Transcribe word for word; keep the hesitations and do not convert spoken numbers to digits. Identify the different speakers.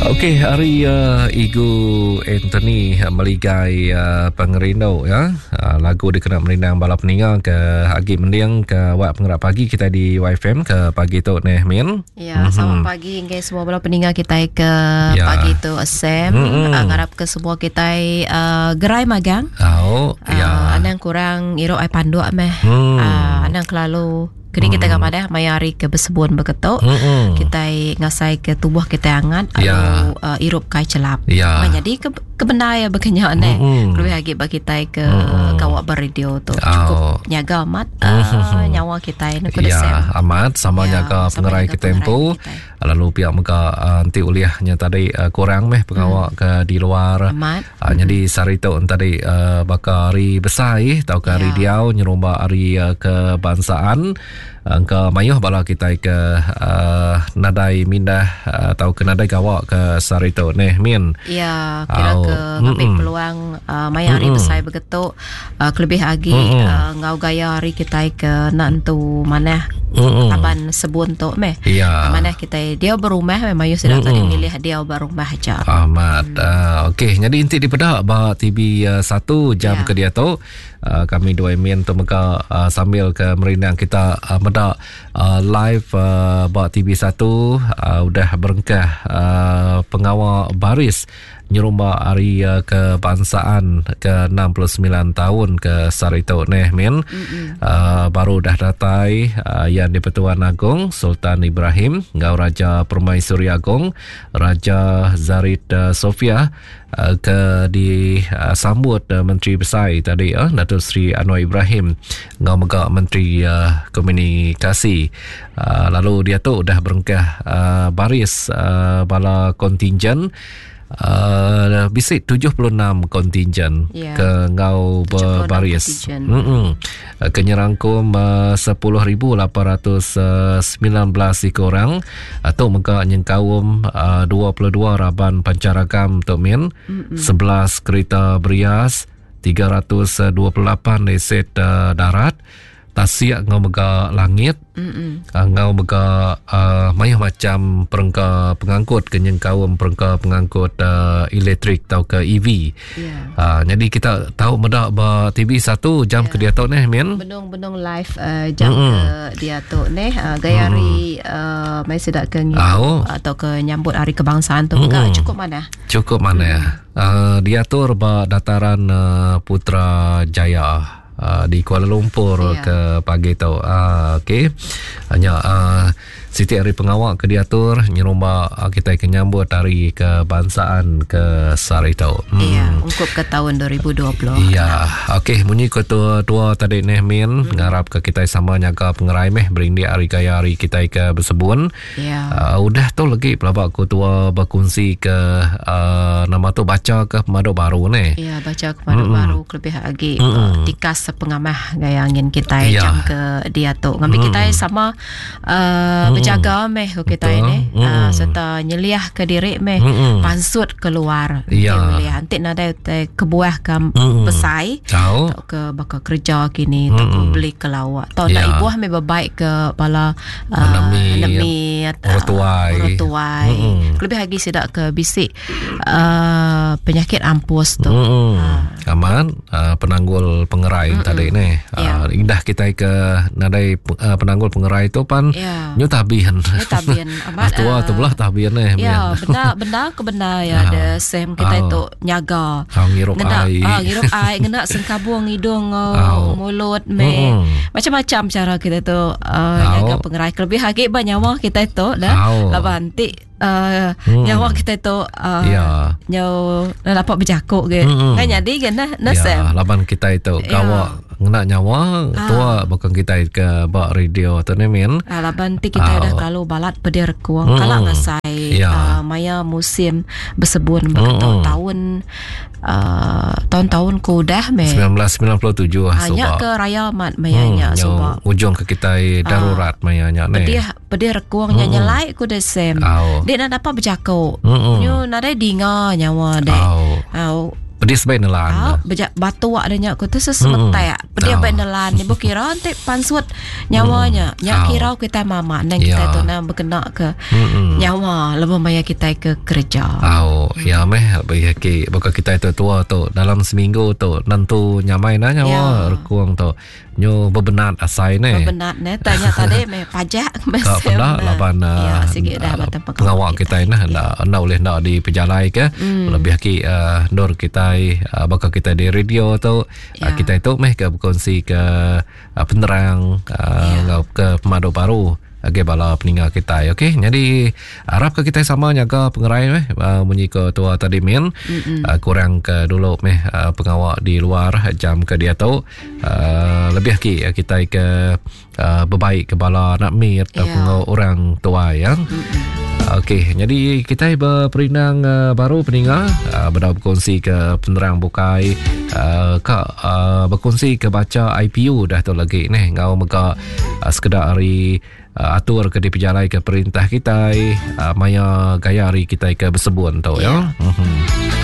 Speaker 1: Okey, hari uh, Igu Anthony meligai uh, pengerindu ya. Uh, lagu dikena merindang bala peninga ke agi mending ke wak pengerak pagi kita di Y F M ke pagi tu neh Min.
Speaker 2: Ya, mm-hmm. Selamat pagi ngai semua bala peninga kita ke ya. Pagi tu Sam. Mm-hmm. Uh, ngarap ke semua kita uh, gerai magang.
Speaker 1: Oh, ya.
Speaker 2: Uh, anang kurang irok ai panduk meh.
Speaker 1: Mm.
Speaker 2: Uh, anang kelalu kini kita hmm. madah maya hari ke bersebun beketuk
Speaker 1: hmm.
Speaker 2: kita ngasai ke tubuh kita hangat
Speaker 1: ya.
Speaker 2: Lalu uh, irup kai celap.
Speaker 1: Ya.
Speaker 2: Jadi ke kebenar ya berkenyak ne.
Speaker 1: Hmm.
Speaker 2: Lebih lagi bagi kita ke
Speaker 1: hmm.
Speaker 2: kawak beradio tu cukup
Speaker 1: oh.
Speaker 2: nyaga amat uh, nyawa kita ni
Speaker 1: ya, amat sama
Speaker 2: ya,
Speaker 1: nyaga pengerai kita tempo. Lalu pihak mega uh, nanti uliahnya tadi uh, kurang meh pengawak hmm. ke di luar.
Speaker 2: Amat.
Speaker 1: Uh, hmm. Jadi sehari tu tadi uh, bakal hari besar tau ke hari
Speaker 2: ya.
Speaker 1: Diau nyerumba hari uh, kebangsaan. Angka mayuh bala kita ke uh, nadai mindah atau ke nadai gawak ke sehari tu neh Min.
Speaker 2: Ya, kira
Speaker 1: oh.
Speaker 2: ke ngambil peluang uh, maya hari besar begitu uh, kelebih lagi uh, ngau gaya hari kita ke nak entu manah taban sebun tu meh.
Speaker 1: Ya.
Speaker 2: Manah kita dia berumah memang mayuh sedang tadi milih dia berumah aja.
Speaker 1: Amat.
Speaker 2: Hmm.
Speaker 1: Uh, okey, jadi inti di pedak ba T V uh, satu jam
Speaker 2: ya.
Speaker 1: Ke dia tu uh, kami dua Min tu mega uh, sambil ke merindang kita uh, medak uh, live uh, ba T V satu uh, udah berengkah uh, pengawal baris nyerumba hari uh, kebangsaan ke enam puluh sembilan tahun ke Sarito neh Min. Uh, baru dah datai uh, yang di-Pertuan Agong Sultan Ibrahim ngau Raja Permaisuri Agong Raja Zarid uh, Sofia uh, ke disambut uh, Menteri Besar tadi uh, Datuk Seri Anwar Ibrahim ngau mega Menteri uh, Komunikasi. Uh, lalu dia tu dah berengkah uh, baris uh, bala kontingen Uh, bisik tujuh puluh enam kontingen
Speaker 2: yeah.
Speaker 1: ke ngau berbaris. Mm-mm. Kenyerangkum uh, sepuluh ribu lapan ratus sembilan belas ekor orang atau mega nyengkaum uh, dua puluh dua raban pancaragam tok min, sebelas kereta berias, tiga ratus dua puluh lapan aset uh, darat, tasiak ngau mega langit, uh, ngau mega uh, mayuh macam perengka pengangkut kenyengkaum perengka pengangkut uh, elektrik atau ke E V.
Speaker 2: Yeah.
Speaker 1: Uh, jadi kita tahu medak ba T V satu jam
Speaker 2: yeah.
Speaker 1: ke dia tu neh Min.
Speaker 2: Benung-benung live uh, jam
Speaker 1: Mm-mm.
Speaker 2: ke dia tu neh uh, gaya hari uh, mai sedak ke
Speaker 1: oh.
Speaker 2: atau ke nyambut hari kebangsaan tu mega cukup mana?
Speaker 1: Cukup mana?
Speaker 2: Mm.
Speaker 1: Uh, diatur ba dataran uh, Putrajaya. Uh, di Kuala Lumpur
Speaker 2: ya.
Speaker 1: Ke pagi tu. Uh, okey. Hanya uh, siti hari pengawak ke diatur nyerumba uh, kita ke nyambut hari kebangsaan ke sehari tu.
Speaker 2: Hmm. Ya, ungkup ke tahun dua ribu dua puluh.
Speaker 1: Ya, okey munyi ke tua tadi neh Min,
Speaker 2: hmm.
Speaker 1: ngarap ke kita sama nyaga pengerai meh berindik hari gaya hari kita ke bersebun.
Speaker 2: Ya.
Speaker 1: Uh, udah tu lagi pelabak ku tua berkongsi ke uh, nama tu baca ke pemaduk baru ni.
Speaker 2: Ya, baca ke pemaduk
Speaker 1: hmm.
Speaker 2: baru kelebih lagi
Speaker 1: hmm.
Speaker 2: uh, tikas pengamah gaya angin kita
Speaker 1: ya.
Speaker 2: Jam ke dia tu. Ngambil
Speaker 1: hmm.
Speaker 2: kita sama uh,
Speaker 1: hmm.
Speaker 2: berjaga meh kita ini
Speaker 1: hmm.
Speaker 2: uh, serta nyeliah ke diri meh
Speaker 1: hmm.
Speaker 2: pansut keluar.
Speaker 1: Ya.
Speaker 2: Nyeliah antik nadai utai kebuah ke
Speaker 1: hmm.
Speaker 2: besai
Speaker 1: tau
Speaker 2: atau ke bakal kerja kini
Speaker 1: hmm.
Speaker 2: atau ke beli ke lawak. Tau
Speaker 1: ya.
Speaker 2: nak ibuah meh berbaik ke bala uh,
Speaker 1: nemit orang
Speaker 2: orang tuai.
Speaker 1: Hmm.
Speaker 2: Lebih lagi sedak ke bisik uh, penyakit ampus tu.
Speaker 1: Hmm.
Speaker 2: Uh.
Speaker 1: Aman uh, penanggul pengerai
Speaker 2: Mm-mm.
Speaker 1: tadi ni.
Speaker 2: Yeah.
Speaker 1: Uh, indah kita ke nadai uh, penanggul pengerai tu pan
Speaker 2: yeah.
Speaker 1: nyu tabian.
Speaker 2: Nyu tabian. Amat
Speaker 1: tua tu belah tabian ni.
Speaker 2: Ya, benda benda ke benda ya ada sem kita
Speaker 1: uh,
Speaker 2: itu nyaga.
Speaker 1: Uh, ngirup air.
Speaker 2: Ah, ngirup air, ngena sengkabung hidung
Speaker 1: uh,
Speaker 2: mulut me. Macam-macam cara kita tu uh, nyaga pengerai. Kelebih lagi ba nyawa kita itu dah.
Speaker 1: Oh.
Speaker 2: Laban ti Uh,
Speaker 1: hmm.
Speaker 2: nyawa kita tu uh,
Speaker 1: ya.
Speaker 2: Nyawa dapat berjakuk ke.
Speaker 1: Hmm.
Speaker 2: Kan jadi kan nah, nah
Speaker 1: ya, laban kita itu
Speaker 2: ya.
Speaker 1: Gawak ngena nyawa
Speaker 2: ah.
Speaker 1: tua bukan kita ke bak radio tu ni min.
Speaker 2: Ah, laban ti kita
Speaker 1: ah.
Speaker 2: dah kalau balat pedir kuang
Speaker 1: hmm.
Speaker 2: kalau ngasai
Speaker 1: ya.
Speaker 2: uh, maya musim bersebun begitu
Speaker 1: hmm.
Speaker 2: tahun uh, tahun-tahun ku dah me
Speaker 1: sembilan belas sembilan puluh tujuh
Speaker 2: hanya ke raya mat mayanya
Speaker 1: hmm.
Speaker 2: suba
Speaker 1: ujung ke kita darurat
Speaker 2: ah.
Speaker 1: mayanya ni.
Speaker 2: Pedih pedih rekuangnya
Speaker 1: hmm.
Speaker 2: nyelai ku desem.
Speaker 1: Oh.
Speaker 2: Dek nak dapat berjakuk.
Speaker 1: Mm-mm.
Speaker 2: Nyu nadai dinga nyawa dek.
Speaker 1: Oh.
Speaker 2: Au.
Speaker 1: Pedis baik nelan.
Speaker 2: Ah, beja batuk ada nya ku tu sesemetak. Mm. Pedis oh. baik nelan ni bu kira enti pansut nyawanya. Mm. Nya oh. kira kita mama nang kita yeah. tu nang berkena ke mm-mm. nyawa lebuh maya kita ke kerja.
Speaker 1: Oh, mm. ya meh bagi ki baka kita tu tua tu dalam seminggu tu nentu nyamai na nyawa yeah. rekung tu. Nyu bebenat asai ne.
Speaker 2: Bebenat ne tanya tadi meh pajak
Speaker 1: meh. Ka penda laban ya, sigi dah uh, pengawa kita nah enda enda boleh enda dipejalai ke. Mm. Lebih agi uh, ndur kita uh, baka kita di radio tu ya. uh, kita tu meh ke berkongsi ke uh, penerang uh, ya. Ngau ke pemadu baru agi bala peninga kita. Okey, jadi harap ke kita sama nyaga pengerai meh uh, munyi ke tua tadi min uh, kurang ke dulu meh uh, pengawa di luar jam ke dia tu uh, lebih agi uh, kita ke uh, berbaik ke bala anak mir yeah. ataupun orang tua ya. Okey, jadi kita berperinang uh, baru peninga uh, berdau berkongsi ke penerang bukai uh, ka uh, berkongsi ke baca I P U dah tu lagi neh ngau mega uh, sekedar hari uh, atur ke dipejalai ke perintah kita uh, maya gaya hari kita ke bersebun tu ya. Mm-hmm.